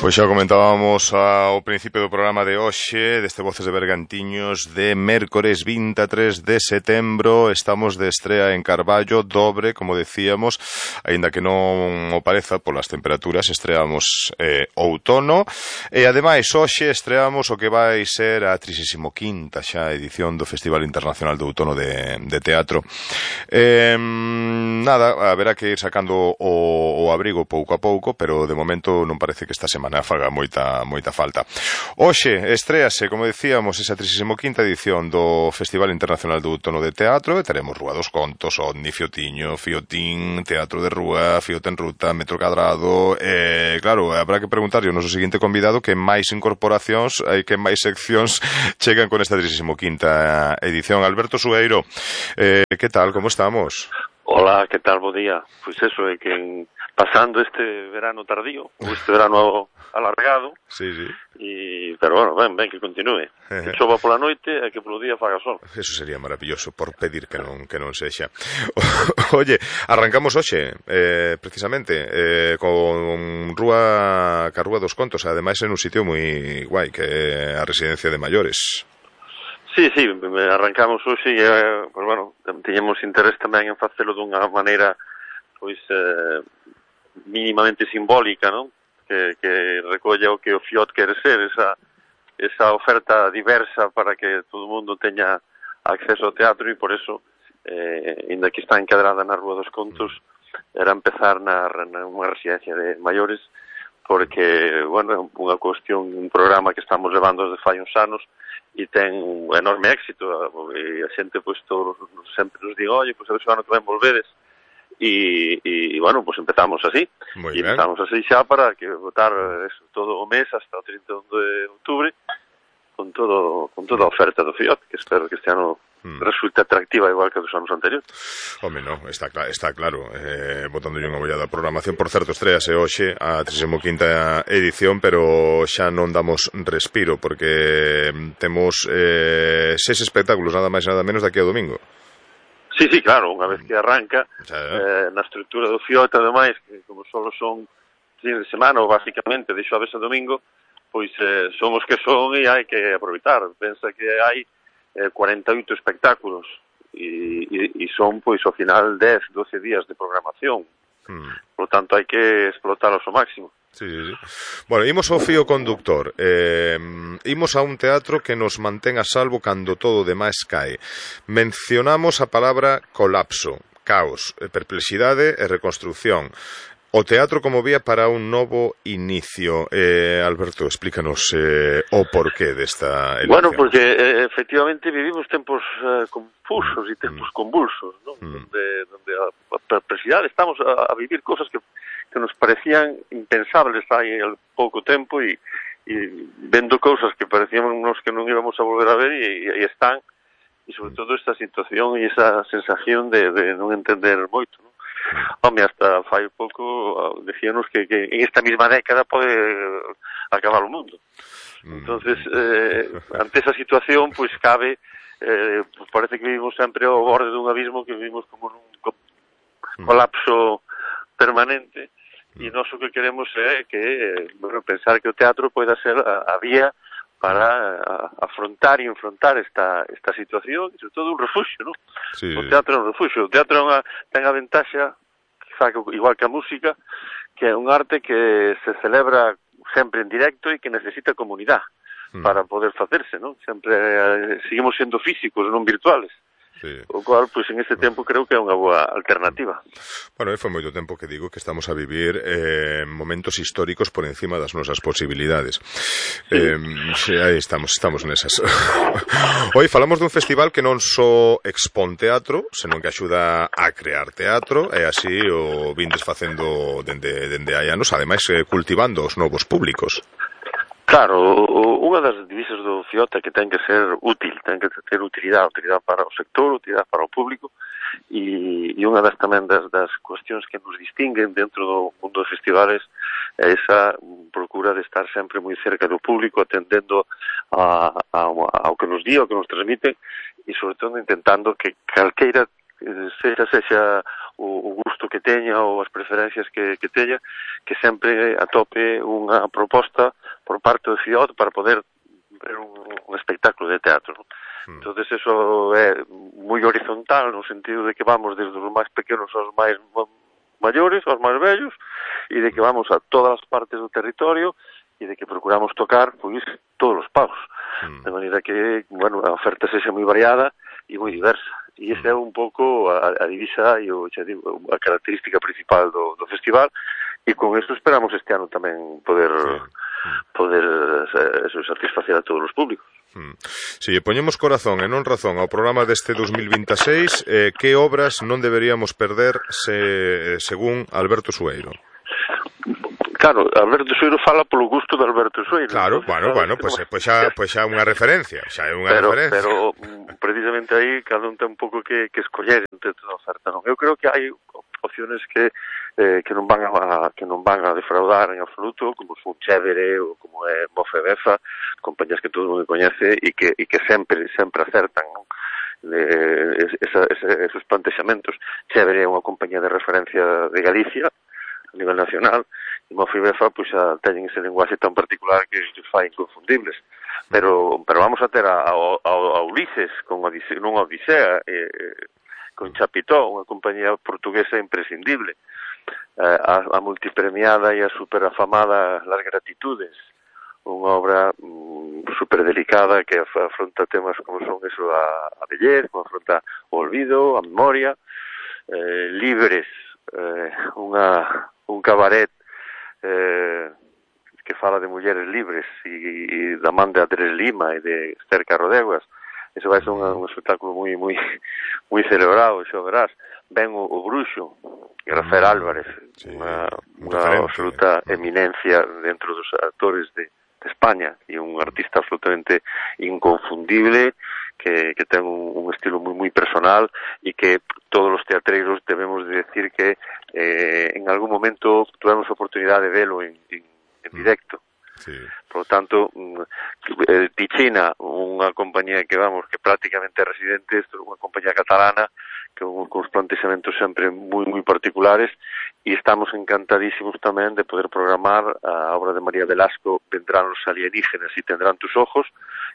Pois xa comentábamos ao principio do programa de hoxe, deste Voces de Bergantiños, de mércores 23 de setembro. Estamos de estrea en Carballo, dobre, como decíamos, aínda que non o pareza polas temperaturas, estreamos outono, e ademais hoxe estreamos o que vai ser a 35ª xa edición do Festival Internacional de Outono de Teatro. Nada, haberá que ir sacando o abrigo pouco a pouco, pero de momento non parece que esta semana faga moita falta. Hoxe estréase, como decíamos, esa 35ª edición do Festival Internacional de Outono de Teatro, e teremos Rúa dos Contos, Ovni, Fiotiño, Fiotín, Teatro de Rúa, Fiote en Ruta, Metro Cadrado, e claro, habrá que preguntarlle ao noso seguinte convidado que máis incorporacións e que máis seccións chegan con esta 35ª edición. Alberto Sueiro, que tal, como estamos? Hola, que tal, bo día. Pois eso, é que pasando este verano tardío, ou este verano alargado, sí. Pero bueno, ben que continúe. Que chova pola noite e que polo día faga sol. Eso sería maravilloso, por pedir que non sexa. Oye, arrancamos hoxe, precisamente, con Rúa dos Contos, ademais en un sitio moi guai, que é a residencia de maiores. Sí, arrancamos hoxe e, pues bueno, teñemos interés tamén en facelo dunha maneira, pois, mínimamente simbólica, non? Que recolla o que o FIOT quere ser, esa oferta diversa para que todo o mundo teña acceso ao teatro, e por eso, ainda que está encadrada na Rúa dos Contos, era empezar nunha residencia de maiores, porque, bueno, é unha cuestión, un programa que estamos levando desde fai uns anos e ten un enorme éxito, e a xente, pois, sempre nos diga, oye, pois a ver se o ano que ven volvedes, e bueno, pues empezamos así. E empezamos así xa para que votar todo o mes hasta o 31 de outubro con toda a oferta do FIOT, que espero que este ano resulte atractiva igual que dos anos anteriores. Home, non, está claro, botando unha mollada a programación. Por certo, estrease hoxe a 35ª edición, pero xa non damos respiro porque temos 6 espectáculos, nada máis e nada menos, daqui ao domingo. Sí, claro, unha vez que arranca na estrutura do FIOT, ademais, que como solo son fin de semana ou basicamente de xoves a domingo, pois son os que son e hai que aproveitar. Pensa que hai 48 espectáculos e son, pois, ao final 10, 12 días de programación. Por lo tanto, hai que explotalos ao máximo. Sí. Bueno, imos ao fío conductor. Imos a un teatro que nos mantén a salvo cando todo o demais cae. Mencionamos a palabra colapso, caos, perplexidade e reconstrucción. O teatro como vía para un novo inicio. Alberto, explícanos o porqué desta elección. Bueno, porque efectivamente vivimos tempos confusos e tempos convulsos, ¿no? Donde a perplexidade estamos a vivir cosas que nos parecían impensables hai pouco tempo e vendo cousas que parecíamos que non íbamos a volver a ver e están, e sobre todo esta situación e esa sensación de non entender moito, non? Home, hasta fai pouco decíanos que en esta mesma década pode acabar o mundo. Entonces, ante esa situación, pois cabe, pues parece que vivimos sempre ao borde dun abismo, que vivimos como nun colapso permanente, e nós o que queremos é que, bueno, pensar que o teatro poida ser a vía para afrontar e enfrontar esta situación, e sobre todo un refuxio, non? Sí. O teatro é un refuxio. O teatro ten a ventaxa, igual que a música, que é un arte que se celebra sempre en directo e que necesita comunidade para poder facerse, non? Sempre seguimos sendo físicos, non virtuales. Sí. O cual, pois, en este tempo creo que é unha boa alternativa. Bueno, foi moito tempo que digo que estamos a vivir momentos históricos por encima das nosas posibilidades. Sí. Aí estamos nesas. Hoy falamos dun festival que non só expón teatro, senón que axuda a crear teatro, e así o vindes facendo dende hai anos, ademais cultivando os novos públicos. Claro, unha das divisas do FIOT é que ten que ser útil, ten que ter utilidade para o sector, utilidade para o público, e unha das tamén das cuestións que nos distinguen dentro do mundo dos festivales é esa procura de estar sempre moi cerca do público, atendendo ao que nos di, ao que nos transmite, e sobre todo intentando que calqueira sexa o gusto que teña ou as preferencias que teña, que sempre atope unha proposta por parte do FIOD para poder ver un espectáculo de teatro, ¿no? Entonces eso é moi horizontal no sentido de que vamos desde os máis pequenos aos máis maiores, aos máis vellos, e de que vamos a todas as partes do territorio e de que procuramos tocar, pois, todos os pagos. De maneira que, bueno, a oferta sexa moi variada e moi diversa. E esa é un pouco a divisa e a característica principal do festival, e con isto esperamos este ano tamén poder satisfacer a todos os públicos. Si lle poñemos corazón e non razón ao programa deste 2026, que obras non deberíamos perder según Alberto Sueiro? Claro, Alberto Sueiro fala polo gusto de Alberto Sueiro. Claro, bueno, pois xa unha referencia, Pero precisamente aí cada un ten un pouco que escoller entre toda a oferta, non? Eu creo que hai opciones que non van a defraudar en absoluto, como son Chévere ou como é Mofe Befa, compañías que todo o mundo coñece e que sempre acertan, non? Esos plantexamentos. Chévere é unha compañía de referencia de Galicia a nivel nacional, e Mofe Befa pois xa teñen ese lenguaxe tan particular que os fai inconfundibles. Pero vamos a ter a Ulises con Odisea, con Chapitó, unha compañía portuguesa imprescindible, a multipremiada e a superafamada Las Gratitudes, unha obra super delicada que afronta temas como son eso, a vellez, como afronta o olvido, a memoria, Libres, un cabaret que fala de mulleres libres e da man de Andrés Lima e de Esther Carrodeguas. Eso vai ser un espectáculo moi celebrado, xa verás. Ven o Bruxo, Rafael Álvarez, unha absoluta eminencia dentro dos actores de España e un artista absolutamente inconfundible que ten un estilo moi personal e que todos os teatreiros debemos de decir que en algún momento tuvemos a oportunidade de velo en directo. Sí. Por lo tanto, Ticina, unha compañía que prácticamente é residente, é unha compañía catalana con os plantexamentos sempre moi particulares, e estamos encantadísimos tamén de poder programar a obra de María Velasco, Vendrán los alienígenas e tendrán tus ojos,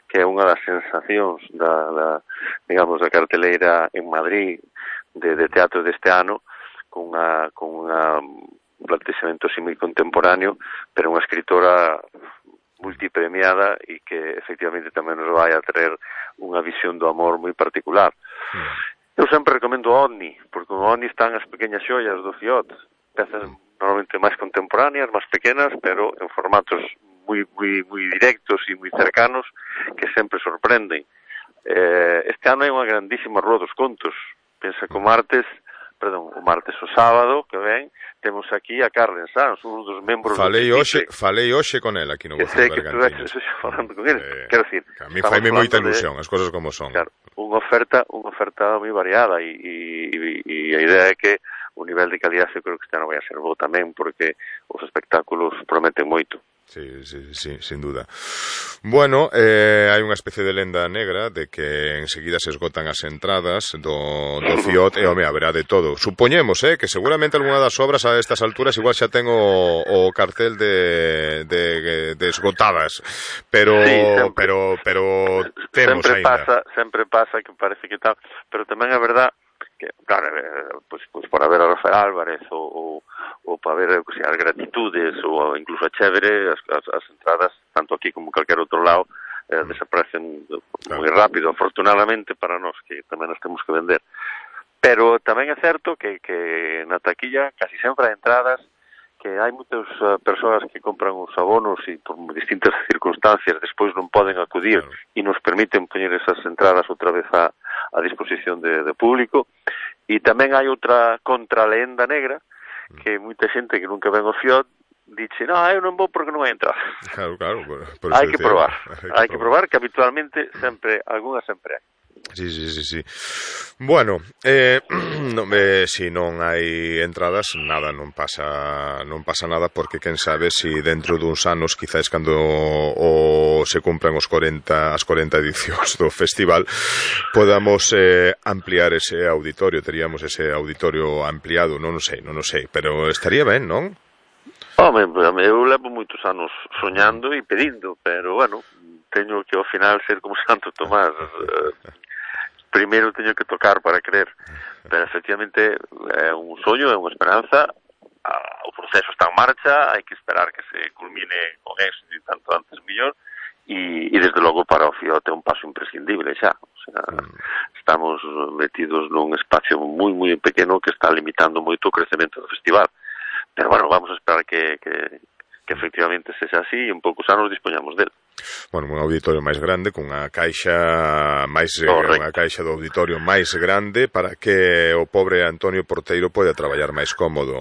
que é unha das sensacións da carteleira en Madrid de teatro deste ano, con un plantexamento así moi contemporáneo, pero unha escritora multipremiada e que efectivamente tamén nos vai a traer unha visión do amor moi particular. Eu sempre recomendo OVNI, porque no OVNI están as pequeñas xoias do FIOD, pezas normalmente máis contemporáneas, máis pequenas, pero en formatos moi directos e moi cercanos, que sempre sorprenden. Este ano hai unha grandísima rúa dos contos. Pensa que o sábado que ven, temos aquí a Carlen Sanz, un dos membros falei hoxe con ela aquí no Buzón Bergantines. Sei que tú falando con ele, quero dicir, a mí faime moita ilusión, as cosas como son. Claro, unha oferta moi variada e a idea é que o nivel de calidad eu creo que este ano vai a ser bo tamén, porque os espectáculos prometen moito. Sí, sin duda. Bueno, hai unha especie de lenda negra de que enseguida se esgotan as entradas do FIOD e, haberá de todo. Supoñemos, que seguramente algunha das obras a estas alturas igual xa ten o cartel de esgotadas, pero temos ainda. Sempre pasa que parece que tal, pero tamén é verdad que, claro, pues por haber a Rafael Álvarez ou para ver as Gratitudes ou incluso a Chévere, as entradas, tanto aquí como en calquer outro lado, desaparecen moi rápido, afortunadamente para nós, que tamén nos temos que vender. Pero tamén é certo que na taquilla casi sempre hai entradas, que hai moitas persoas que compran os abonos e por distintas circunstancias despois non poden acudir e nos permiten poñer esas entradas outra vez a disposición de público. E tamén hai outra contralenda negra, que moita xente que nunca ven o FIOD dice, eu non vou porque non hai entrada. Claro, hai que probar, que habitualmente algunha sempre hai. Sí. Bueno, si non hai entradas, nada, non pasa nada, porque quen sabe si dentro duns anos, quizás cando se cumpran as 40 edicións do festival, podamos ampliar ese auditorio, teríamos ese auditorio ampliado, non o sei, pero estaría ben, non? Home, eu levo moitos anos soñando e pedindo, pero, bueno, teño que ao final ser como Santo Tomás, primeiro teño que tocar para creer, pero efectivamente é un soño, é unha esperanza, o proceso está en marcha, hai que esperar que se culmine con éxito e tanto antes mellor, e desde logo para o Fiote é un paso imprescindible xa, o sea, estamos metidos nun espacio moi pequeno que está limitando moito o crecemento do festival, pero bueno, vamos a esperar que efectivamente sexa así e en poucos anos dispoñamos del. Bueno, un auditorio máis grande, cunha caixa do auditorio máis grande para que o pobre Antonio Porteiro poida traballar máis cómodo.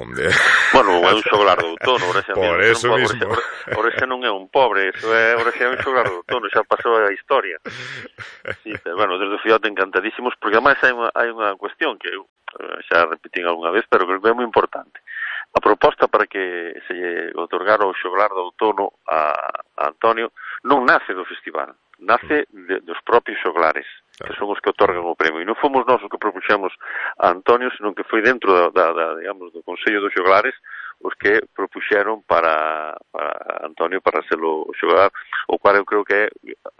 Bueno, é un xoglar do outono, por eso mismo. Ora xa non é un pobre, ora xa é un xoglar do outono, xa pasou a historia. Sí, pero, bueno, desde o Fiote encantadísimos, porque ademais hai unha cuestión que eu xa repetín algunha vez, pero creo que é moi importante. A proposta para que se lle otorgara o xoglar do outono a Antonio non nace do festival, nace dos propios xoglares, que son os que otorgan o premio. E non fomos nós os que propuxemos a Antonio, senón que foi dentro digamos, do Consello dos Xoglares os que propuxeron para Antonio para ser o xoglar, o cual eu creo que é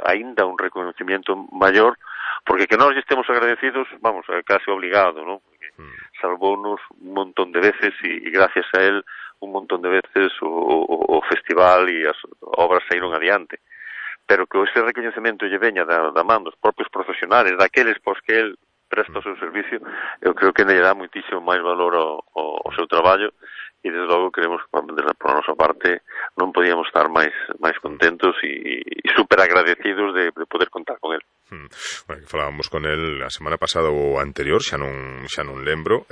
aínda un reconocimiento maior, porque que nós estemos agradecidos, vamos, é casi obligado, non? Salvounos un montón de veces e gracias a él un montón de veces o festival e as obras saíron adiante, pero que ese recoñecemento lle veña da man dos propios profesionales, daqueles pos que el presta o seu servicio, eu creo que lle dá moitísimo máis valor ao seu traballo e desde logo creemos que por a nosa parte non podíamos estar máis contentos e super agradecidos de poder contar con él. Bueno, falábamos con él a semana pasada ou anterior, xa non lembro,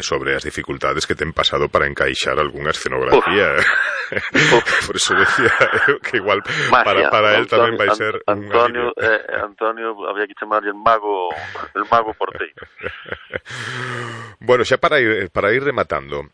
sobre as dificultades que ten pasado para encaixar algunha escenografía. Por eso decía que igual para él tamén vai ser Antonio, había que chamarlle el mago Porteiro. Bueno, xa para ir rematando,